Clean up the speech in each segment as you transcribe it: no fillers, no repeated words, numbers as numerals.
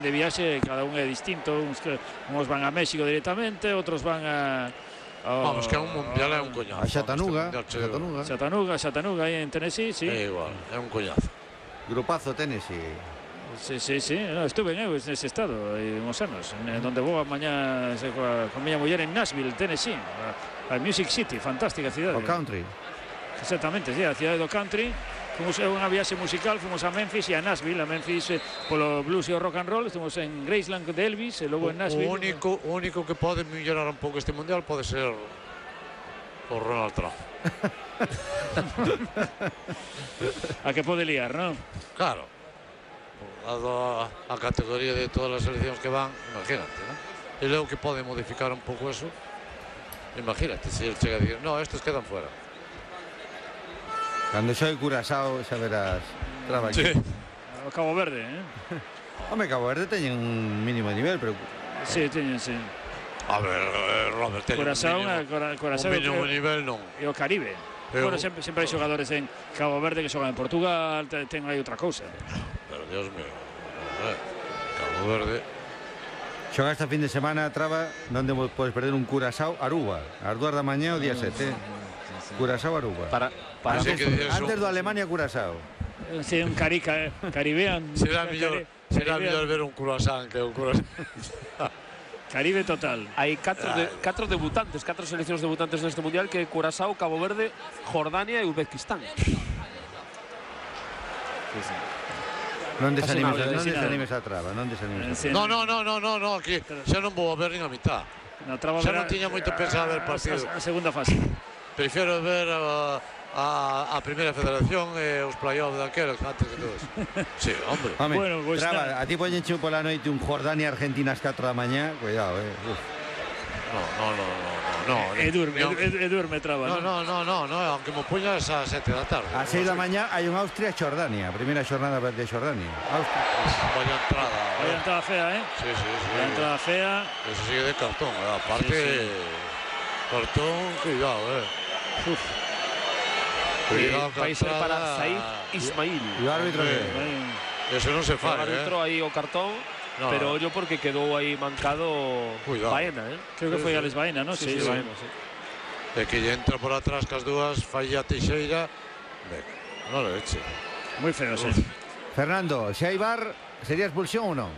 de viaxe, cada un é distinto, uns van a México directamente, outros van a... Vamos, que é un mundial, é un coñazo. A Chattanooga, aí en Tennessee, sí. É igual, é un coñazo. Grupazo Tennessee. Sí, no, estuve nese estado hai uns anos, donde vou mañá con miña muller en Nashville, Tennessee, a Music City, fantástica cidade. O country. Exactamente, sí, a cidade do country. Fomos unha viaxe musical, fomos a Memphis e a Nashville. A Memphis polo blues e o rock and roll, estuvimos en Graceland de Elvis e logo en Nashville. O único que pode mellorar un pouco este mundial pode ser o Ronald Trump. A que pode liar, non? Claro, dado a categoría de todas as seleccións que van, imagínate, non? E logo que pode modificar un pouco eso, imagínate, se ele chega a dicir, no, estes quedan fuera. Cando soy Curazao, xa verás. Traba aquí. Sí. O Cabo Verde, Home, Cabo Verde teñen un mínimo de nivel, pero... Sí, teñen, sí. A ver, Robert, teñen Curazao, un mínimo nivel non. E o Caribe. Bueno, sempre hai xogadores en Cabo Verde que xogan en Portugal, ten aí outra cousa. Pero, Dios mío, Cabo Verde... Xoga esta fin de semana, Traba, donde podes perder un Curazao Aruba. Ás 2 da mañá o día 7. Curazao Aruba. Antes do Alemania Curazao. Sí, un Caribean. Será mellor ver un Curazao que un Curazao. Caribe total. Hai catro debutantes, 4 seleccións debutantes neste mundial, que Curazao, Cabo Verde, Jordania e Uzbekistán. Non desanimes a Traba, non desanimes a Traba. No, aquí xa non vou a ver nin a mitad. Xa non tiña moito pensado ver partido. A segunda fase. Prefiero ver a primeira federación e os play-off daqueles antes que todos. Sí, hombre. Bueno, pues Traba, a ti poñenche pola noite un Jordania-Argentina ás 4 da mañá, cuidado, No. Durme, Traba. No, aunque me poñas a 7 da tarde. A 6 da mañá hai un Austria-Jordania, primeira xornada de Jordania. Vaya entrada. Vaya entrada fea, Sí. Vaya entrada fea. Eso sigue de cartón, aparte... Cartón, cuidado, Vai ser para Said Ismail. E o árbitro Eso non se fai, O árbitro aí o cartón, pero ollo porque quedou aí mancado Baena, Creo que foi Alex Baena, non? Sí, Baena, sí. E que lle entra por atrás cas dúas, falla Teixeira. Non le eche. Moi feo, sí. Fernando, se hai VAR, sería expulsión ou non?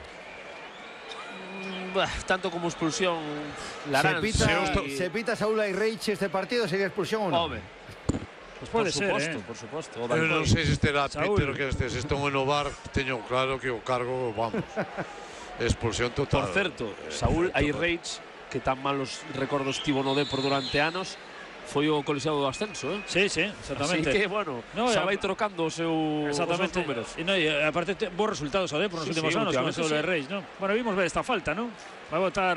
Tanto como expulsión Larán. Se pita Saúl Ayreiche este partido, sería expulsión ou non? Pues pode ser, por suposto. Eu non sei se estará Peter que se estón en o VAR, teño claro que o cargo, vamos, expulsión total. Por certo, Saúl Ayreiche, que tan malos recordos tivo no Depor durante anos, foi o colexiado do ascenso, Sí, exactamente. Así que, bueno, xa vai trocando os seus números. E aparte, bons resultados ao Depor nos últimos anos, con o Reis, non? Bueno, vimos ver esta falta, non? Vai botar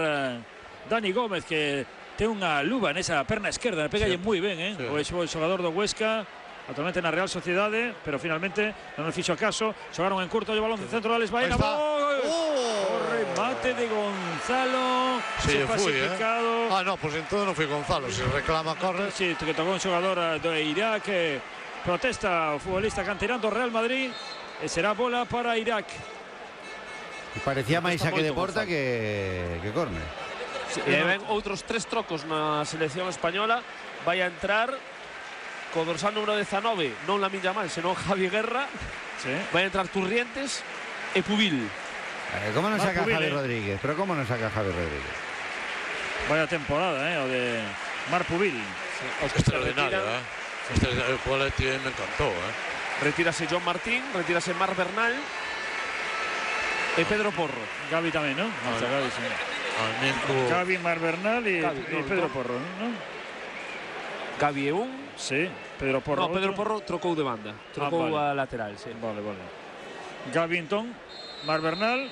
Dani Gómez, que ten unha luva nesa perna esquerda, pegalle moi ben, o xogador do Huesca, actualmente na Real Sociedade, pero finalmente non nos fixo caso, xogaron en curto, o balón do centro de Alex Baena, o remate de Gonzalo, se clasificado. No, pues entón non foi Gonzalo, se reclama corre. Sí, que tocou un xogador de Irak, protesta o futbolista canterano do Real Madrid, e será bola para Irak. Parecía máis saque de porta que córner. E ven outros 3 trocos na selección española. Vai a entrar co dorsal número 19, non Lamine Yamal, senón Javi Guerra. Vai a entrar Turrientes e Pubil. Como non saca Javi Rodríguez? Pero como non saca Javi Rodríguez? Vaya temporada, o de Marc Pubil. Extraordinario, o cual me encantó, Retírase John Martín, retírase Marc Bernal e Pedro Porro. Gavi tamén, non? Gavi, sí. Gavi, Marc Bernal e Pedro Porro, non? Gavi é un. Sí, Pedro Porro. No, Pedro Porro trocou de banda. Trocou a lateral, sí. Vale. Gavi, entón, Marc Bernal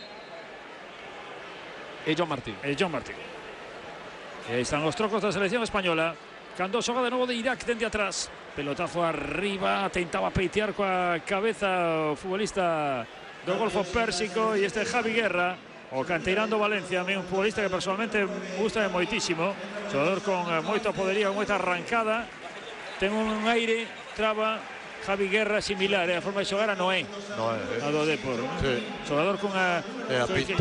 e John Martín. E aí están os trocos da selección española. Cando xoga de novo de Irak dende atrás. Pelotazo arriba, tentaba peitear coa cabeza o futbolista do Golfo Pérsico, e este Javi Guerra, o canteirán do Valencia, un futbolista que personalmente gusta moitísimo, xogador con moito poderío, moita arrancada, ten un aire, Traba, Javi Guerra similar, a forma de xogar a Noé, a do Depor, xogador con a pinta